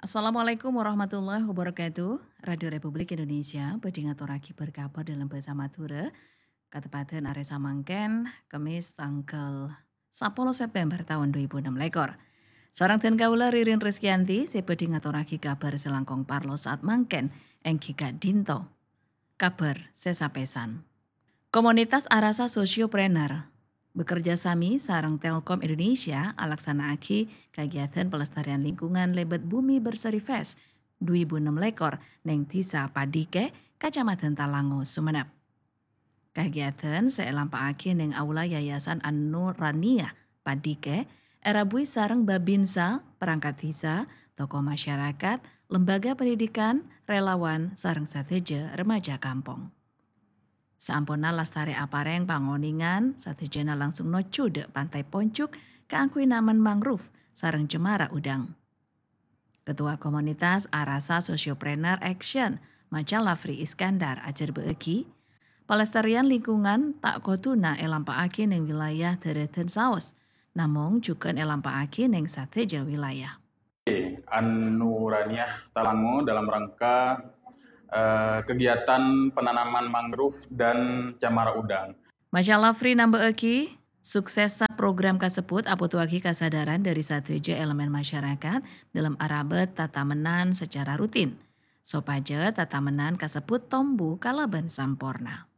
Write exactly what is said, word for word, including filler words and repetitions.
Assalamualaikum warahmatullahi wabarakatuh. Radio Republik Indonesia bhâdhi ngatorraghi bâr-kabhâr dâlem bhâsa Madhurâ, kateppadhân arè samangkèn, Kemmis, tangghâl sapolo September taon dhu èbu ennem lèkor. Sareng dhân kaulâ Ririn Rizkyanti sè bhâdhi ngatorraghi kabhâr sè langkong parlo sa'at mangkèn, èngghi ka'dinto. Kabhâr sè sapèsan. Komunitas Arasa Sosiopreneur bekerja sami sareng Telkom Indonesia alaksana'aghi kagiatan pelestarian lingkungan lèbât Bumi Berseri Fest dhu èbu ennem lèkor neng Dhisa Padike, Kacamadhân Talango, Sumenep. Kagiatan sè èlampa'aghi neng aula Yayasan An-Nuraniah Padike, èrabuwi sareng Babinsa, perangkat dhisa, tokoh masyarakat, lembaga pendidikan, relawan, sareng sadhâjâ remaja kampong. Saamponna lastarè aparèng pangonèngan, sadhâjâna langsung nojjhu dâ' Pantai Ponjuk kaangghuy namen mangrove sareng cemara udang. Ketua Komunitas Arasa Sosiopreneur Action, Maca Lafri Iskandar ajhârbâ'âghi, palestarian lingkungan ta' kodhuna èlampa'aghi neng wilayah Dârâdhân Saos, namong jhughân èlampa'aghi neng sadhâjâ wilayah. An-Nuraniah Talango dalam rangka, eh, kegiatan penanaman mangrove dan cemara udang. Maca Lafri nambâ'âghi, suksessa program kasebbhut abhutoaghi kasadhârân dâri sadhâjâ èlemèn masyarakat dâlem arabât tatamennan sacara rutin, sopajâ tatamennan kasebbhut tombu kalabân samporna.